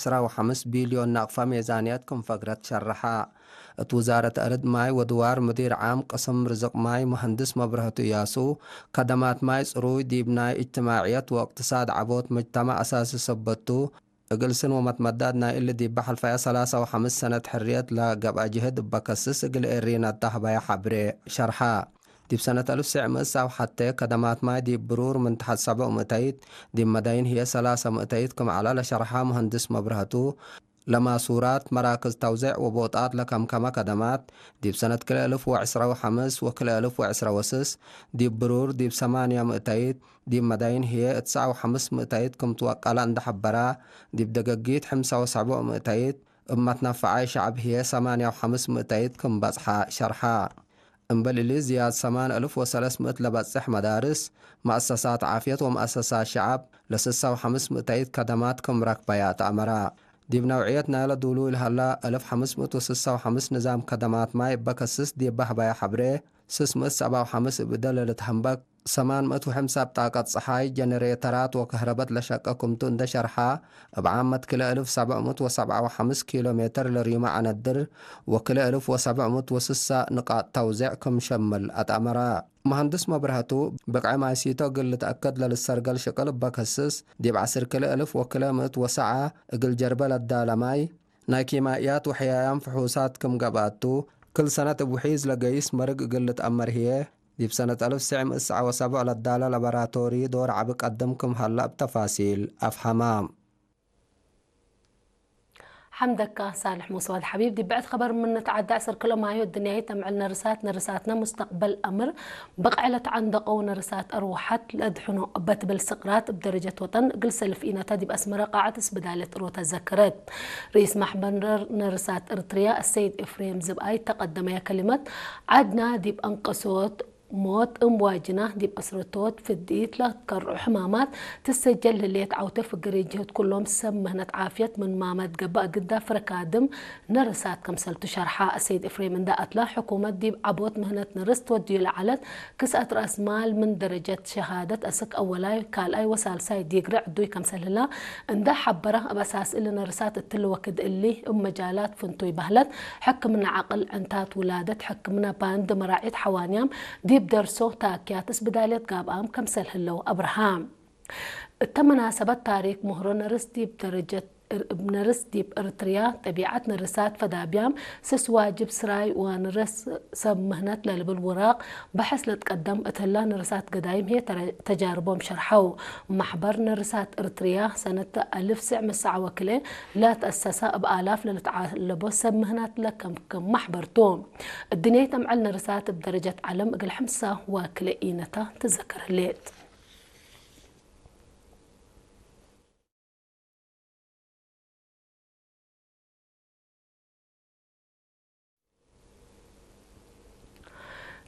ዕስራ ወሓምስ ቢልዮን ናቕፋ ሜዛንያት ክም ፈግረት ሸርሓ። እት ውዛረት ኣርድ ማይ ወድዋር ምዲር ዓም ቅስም ርዝቕ ማይ መሃንድስ መብረህቱ እያሱ፣ ከደማት ማይ ጽሩይ ዲብ ናይ እጅትማዕየት ወእቅትሳድ ዓቦት መጅተማዕ ኣሳሲ ሰበቱ፣ እግል ስን ወመትመዳድ ናይ እሊ ዲብ በሐልፋያ ሰላሳ ወሓምስ ሰነት ሕርየት ለገብአ ጅህድ እበ ከስስ እግል ኤሪን ኣዳህባያ ሐብሬ ሸርሓ። ዲብ ሰነት አልፍ ስዕ ምእት ሳብ ሐቴ ከደማት ማይ ዲብ ብሩር ምን ተሐት ሰብዕ ምእተይት፣ ዲብ መዳይን ህዬ ሰላሳ ምእተይት ክም ዐላ ለሸርሓ መሀንድስ መብረህቱ፣ ለማሱራት መራክዝ ተውዜዕ ወቦጣት ለከምከመ ከደማት፣ ዲብ ሰነት ክልኤ እልፍ ወዕስራ ወሐምስ ወክልኤ እልፍ ወዕስራ ወስስ፣ ዲብ ብሩር ዲብ ሰማንያ ምእተይት፣ ዲብ መዳይን ህዬ እትስዓ ወሐምስ ምእተይት ክም ትወቀላ እንደ ሐበራ፣ ዲብ ደገጊት ሕምሳ ወሰብዕ ምእተይት፣ እብ መትነፈዓይ ሸዕብ ህዬ ሰማንያ ወሐምስ ምእተይት ክም በጽሓ ሸርሓ። እምበል እሊ ዝያድ ሰማን እልፍ ወሰለስ ምእት ለበጽሕ መዳርስ፣ መአሰሳት ዓፍየት ወመአሰሳት ሸዕብ ለስሳ ወሐምስ ምእተይት ከደማት ክም ረክበያ ተአመራ። ዲብ ነውዕየት ናይለ ዱሉይ ለሀላ እልፍ ሐምስ ምእት ወስሳ ወሐምስ ንዛም ከደማት ማይ እበ ከስስ ዲብ በህባያ ሐብሬ፣ ስስ ምእት ሰብዓ ወሐምስ እብ እደ ለልትሀንበክ፣ ሰማን ምእት ወሐምሳ ብጣቀት ጸሓይ፣ ጀነሬተራት ወከህረበት ለሸቀ ክምቱ እንደ ሸርሓ፣ እብ ዓመት ክልኤ እልፍ ሰብዕ ምእት ወሰብዓ ወሐምስ ኪሎ ሜትር ለሪማ ዐነድር ወክልኤ እልፍ ወሰብዕ ምእት ወስሳ ንቃጥ ተውዜዕ ክም ሸምል አትአመራ። መሃንድስ መብረህቱ፣ ብቅዐ ማይሲቶ እግል ልትአከድ ለልሰርገል ሽቅል እበ ከስስ፣ ዲብ ዐስር ክልኤ እልፍ ወክልኤ ምእት ወሰዓ እግል ጀርበ ለዳለ ማይ፣ ናይ ኪማእያት ወሕያያም ፍሑሳት ክም ገብአቱ፣ ክል ሰነት እብ ውሒዝ ለገይስ መርግ እግል ልትአመር ህዬ፣ ዲብ ሰነት አልፍ ስዕ ምእት ሰዓ ወሰብዕ ለዳለ ለበራቶሪ ዶር ዐቢ ቀድም ክም ሀላ እብ ተፋሲል አፍሀማ። ሐምደካ ሳልሕ ሙስዋድ ሐቢብ። ዲብ ብዕድ ኸበር ምን ንትዓደ፣ ዕስር ክልኦ ማዮ እድንያይት ተምዕል ነርሳት፣ ነርሳትነ ሙስተቅበል አምር ብቅዕ ለተዓንደቀው ነርሳት አርወሐት ለአድሕኖ እበ ትብል ስቅራት እብ ደረጀት ወጠን እግል ሰልፍ ኢነተ ዲብ አስመረ ቃዐት እስብዳለት ሮተ ዘክረት። ርኢስ ማሕበር ነርሳት እርትርያ አሰይድ ኤፍሬም ዝብኣይ ተቀደመያ ከሊመት፣ ዐድና ዲብ አንቀሶት ሞት እም ዋጅና ዲብ እስርቶት ፍድኢት ለትከርዑ ሕማማት ትሰጀል ህሌት ዐውተ ፍግሪ ጅህት ኩሎም ሰብ ምህነት ዓፍየት ምን ማመት ገብእ ግዳ ፍረ ካድም ነርሳት ከምሰልቱ ሸርሓ። አሰይድ ኤፍሬም እንዳ አትላ ሕኩመት ዲብ ዐቦት ምህነት ነርስ ትወድዩ ለዐለት ክስአት ረአስ ማል ምን ደረጀት ሸሃደት አስክ አወላይ ካልኣይ ወሳልሳይ ዲግሪ ዕዱይ ከምሰልህላ እንዳ ሐበረ እብ አሳስ እሊ ነርሳት እትሊ ወክድ እሊ እብ መጃላት ፍንቱይ ባህለት ሕክምና ዐቅል ዕንታት ውላደት ሕክምና ባንድ መራዒት ሐዋንያም ዲብ ደርሶ ታክያት እስብዳልየት ጋብኣም ከምሰል ህለው አብርሃ። እተ መናሰበት ታሪክ ምህሮ ነርስ ዲብ ደረጀት እብ ነርስ ዲብ እርትርያ ጠቢዓት ነርሳት ፈዳብያም ስስ ዋጅብ ስራይ ወንርስ ሰብ ምህነት ለልብል ውራቅ በሐስ ለትቀደም እትላ ነርሳት ገዳይም ህየ ተረ-፣ ተጃርቦም ሸርሐው። ማሕበር ነርሳት እርትርያ ሰነት አልፍ ስዕ ምሰዓ ወክለ ለትአሰሳ እብ አላፍ ለልትዓለቦ ሰብ ምህናት ለከምክም ማሕበርቱ። እድንየት አምዕል ነርሳት እብ ደረጀት ዓለም እግል ሕምሳ ወክለ ኢነታ ትዘከር ህሌት።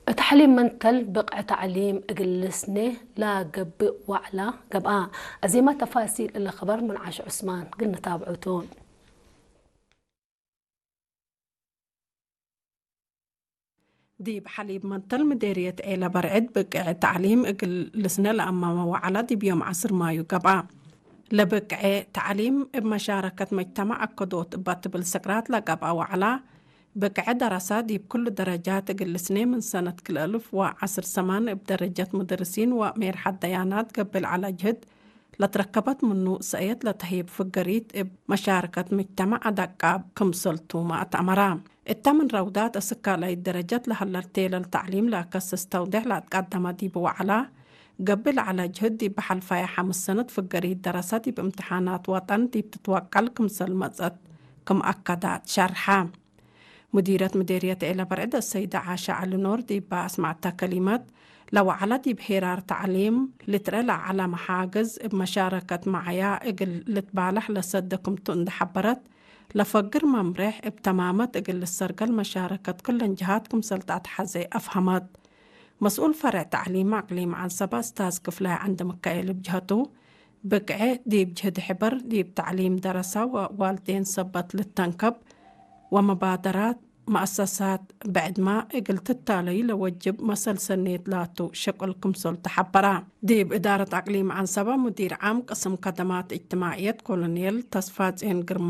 እት ሐሊብ መንተል ብቅዕ ተዕሊም እግል ልስኔ ለገብእ ዋዕላ ገብአ። አዜማ ተፋሲል እለ ኸበር ምን ዓሽ ዑስማን እግል ንታብዑቱ። ዲብ ሐሊብ መንተል ምዴርየት ዔለ በርዕድ ብቅዕ ተዕሊም እግል ልስነ ለአማመ ዋዕላ ዲብ ዮም ዐስር ማዩ ገብአ። ለብቅዕ ተዕሊም እብ መሻረከት መጅተማዕ አከዶት እባ ትብል ስቅራት ለገብአ ዋዕላ፣ ብቅዕ ደረሳ ዲብ ኩሉ ደረጃት እግል ልስኔ ምን ሰነት ክልኤ እልፍ ወዐስር ሰማን እብ ደረጀት ሙደርሲን ወሜርሐት ደያናት ገብእ ለዐለ ጅህድ ለትረከበት ምኑ ሰእየት ለተህይብ ፍገሪት እብ መሻረከት ምጅተማዕ አዳቃብ ክምሰልቱ መአተአመራ። እተ ምን ረውዳት እስካላይት ደረጀት ለሀለል ቴለል ተዕሊም ለአከስስ ተውዴሕ ለአትቀደመ ዲብ ወዐላ፣ ገብእ ለዐለ ጅህድ ዲብ ሐልፋየ ሐምስ ሰነት ፍገሪት ደረሰ ዲብ እምትሓናት ወጠን ዲብ ትትወቀል ክምሰል መጸት ክም አከዳት ሸርሐ። ሙዲረት ምዴርየት ዔለ በርዕድ አሰይደ ዓሻ ዐሊ ኖር ዲባ አስመዐተ ከሊመት፣ ለወዐለ ዲብ ሄራር ተዕሊም ልትረአ ለዐለ መሓግዝ እብ መሻረከት መዓያ እግል ልትባለሕ ለሰደ ክምቱ እንደ ሐበረት፣ ለፈግር መምሬሕ እብ ተማመት እግል ልሰርገል መሻረከት ክለን ጀሃት ክምሰል ተአትሐዜ አፍሀመት። መስኡል ፈርዕ ተዕሊም አቅሊም ዐንሰበ እስታዝ ክፍላይ ዐንደሚካኤል እብ ጀሀቱ፣ ብቅዕ ዲብ ጅህድ ሕበር ዲብ ተዕሊም ደረሰ ወዋልዴን ሰበት ልተንከብ ወመባደራት መአሰሳት ብዕድማ እግል ትታለዩ ለወጅብ መሰል ሰኔት ላቱ ሸቁል ክምሰል ተሐበራ። ዲብ እዳረት አቅሊም ዐንሰበ ሙዲር ዓም ቅስም ከደማት እጅትማዕየት ኮሎኔል ተስፋጼን ግርማ